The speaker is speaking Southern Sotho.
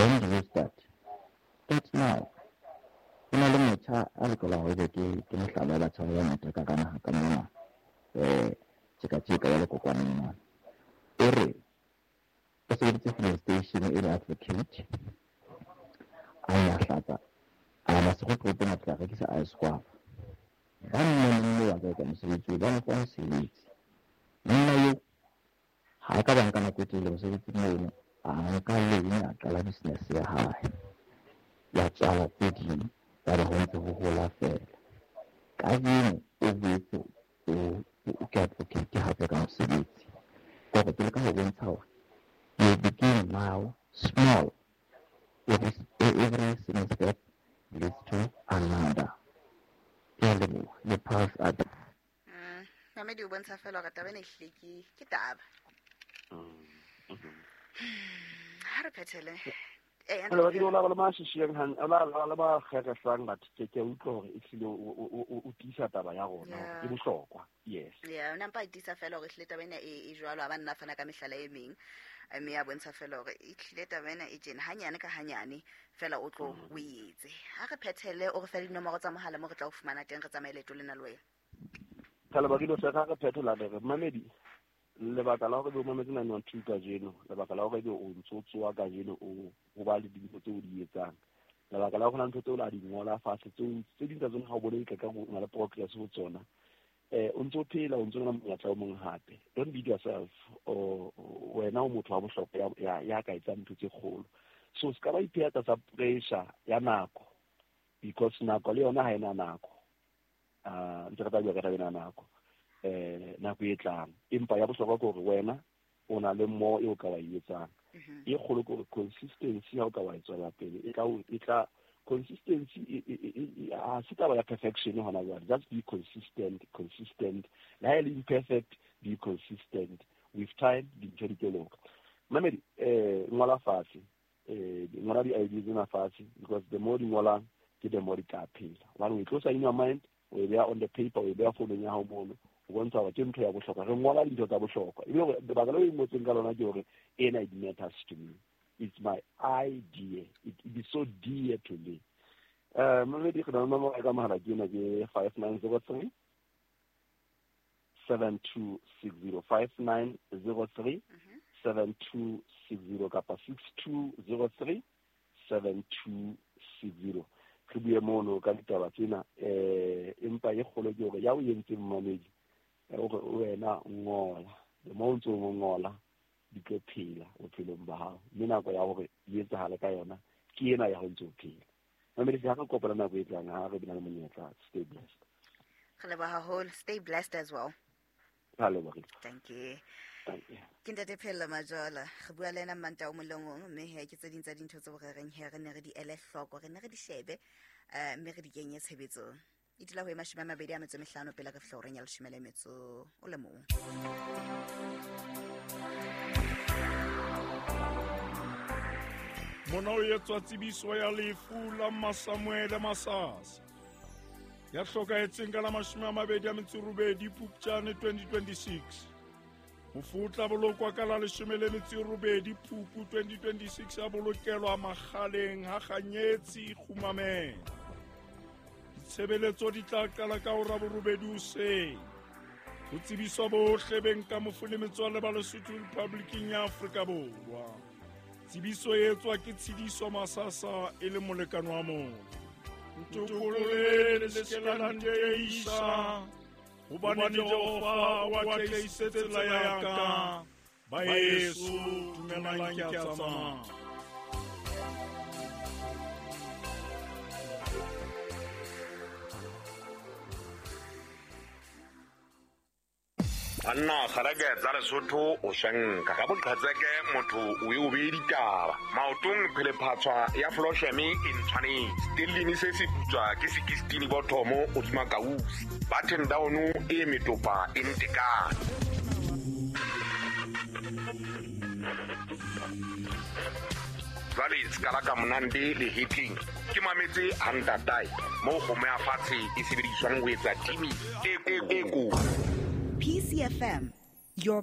When do you start? Start now. Ho na le motjha a lokelang hore ebe ke mohlala wa batjha ba bangata ka naha ka mona, tjeka-tjeka ya lekokwaneng mona. O re o sebeditse filling station e le advocate, a nyahlatsa, a ya Maseru toropong a fihla a rekisa ice guava. Ba mmoneng moo a ka etsa mosebetsi oo, ba mo fa mosebetsi. Monna eo ha a ka ba nka nako e telele mosebetsing mono, a nka loan a qala business ya hae. Ya tswala tse ding, yaba ho ntse ho hola feela. Kajeno o boetse o ke advocate hape ka mosebetsi. Ke hore ke leka ho bontsha hore you begin now small. Every single step leads to another. Ke a leboha. Le pass at. Mamedi o bontsha fela hore taba ena ehlile ke taba. Ha re phethele. Hello, ba ke bona ba le ba shishiyang han, ba le ba kgeresang batho, ke a utlwa hore ehlile o tiisa taba ya rona hore e bohlokwa. Yes. Yeah, o nampa a tiisa fela hore ehlile taba ena e jwalo, ha ba nna fana ka mehlala e meng, mme ya bontsha fela hore ehlile taba ena e tjena, hanyane ka hanyane fela o tlo o e etse. Ha re phethele, o re fe dinomoro tsa mohala mo re tla o fumana teng, re tsamaye leeto lena le wena. Kgale ba kile hle, re phetola re re mamedi, lebaka la hore be o mametse 912 kajeno, lebaka la hore be o ntso tsoa kajeno o ba le dintho tseo o di etsang, lebaka la hore na ntho tseo la di ngola fatshe, tseo tse ding tsa tsona ha o bone ka o na le progress ho tsona, o ntso phela, o ntso na monyetla o mong hape. Don't beat yourself, o wena o motho wa bohlokwa ya ka etsang ntho tse kgolo. So se ka ba ipeha tlasa pressure ya nako, because nako le yona ha ena nako. Ntse re tla bua ka taba ena nako, nako e tlang. Empa ya bohlokwa ke hore wena o na le mo e o ka wa e etsang. E kgolo ke hore consistency ha o ka wa e tswela pele, e tla o, e tla, consistency ha se taba ya perfection hona jwale. Just be consistent, consistent. Le ha e le imperfect, be consistent. With time, dintho di tlo loka. Mamedi, ngola fatshe, ngola di-idea tsena fatshe, because the more di ngolang, ke the more di tla phela. Hobane o e tlosa in your mind, o e beha on the paper, o e beha founung ya hao mono, o bontsha hore ke ntho ya bohlokwa. Re ngola dintho tsa bohlokwa. Ebile hore lebaka leo e ngotsweng ka lona ke hore ena it matters to me. It's my idea. It is so dear to me. Mamedi, re na le nomoro ya ka mohala ke ena, ke 5903 7260, 5903 7260 kapa 6203 7260. Re bue mono ka ditaba tsena, empa e kgolo ke hore ya o entseng mamedi, hore wena ngola. The more o ntso o ngola, di tlo phela bophelong ba hao. Mme nako ya hore di etsahale ka yona ke ena ya ho ntso o phela. Mamedi, ha re kopana nako e tlang, ha re bina le monyetla. Stay blessed. Re leboha haholo. Stay blessed as well. Ha lebohile. Thank you. Thank you. Ke Ntate Phello Majola. Re bua le ena Mmantaha o mong le o mong, mme he ke tse ding tsa dintho tseo re reng he re ne re di ele hloko, re ne re di shebe, mme re di kenye tshebetsong. E dula ho e 25 pele re fihla horeng ya 11. Mona o etswa tsebiso ya lefu la Masamuele Masasa, ya hlokahetseng ka la 28 Phupjane 2026. Mofu o tla bolokwa ka la 18 Phupu 2026, a bolokelwa Makgaleng ha Kganyetsi Kgumamela. Ditshebeletso di tla qala ka hora borobedi hoseng. Ho tsebiswa bohle beng ka mofu le metswalle ba Lesotho Republiking ya Afrika Borwa. Tsebiso e etswa ke Tshidiso Masasa e le molekane wa motho. Ntokolle le se ke la nteisa, hobane Jehova o atlehisitse tsela ya ka. Baeso, dumelang ke a tsamaya. Banna kgareke tsa Lesotho o shanka ka boqhetseke motho o e o beye ditaba maotong phelephatshwa ya flosheme e ntshwanetse stellini se se putswa ke sekistini bothomo hodima kausi button down e metopa e ntekane. Jwale se ka la ka monande le hitting ke mametse hantatae moo kgomo ya fatshe e sebediswang ho etsa timi e ko. PCFM, your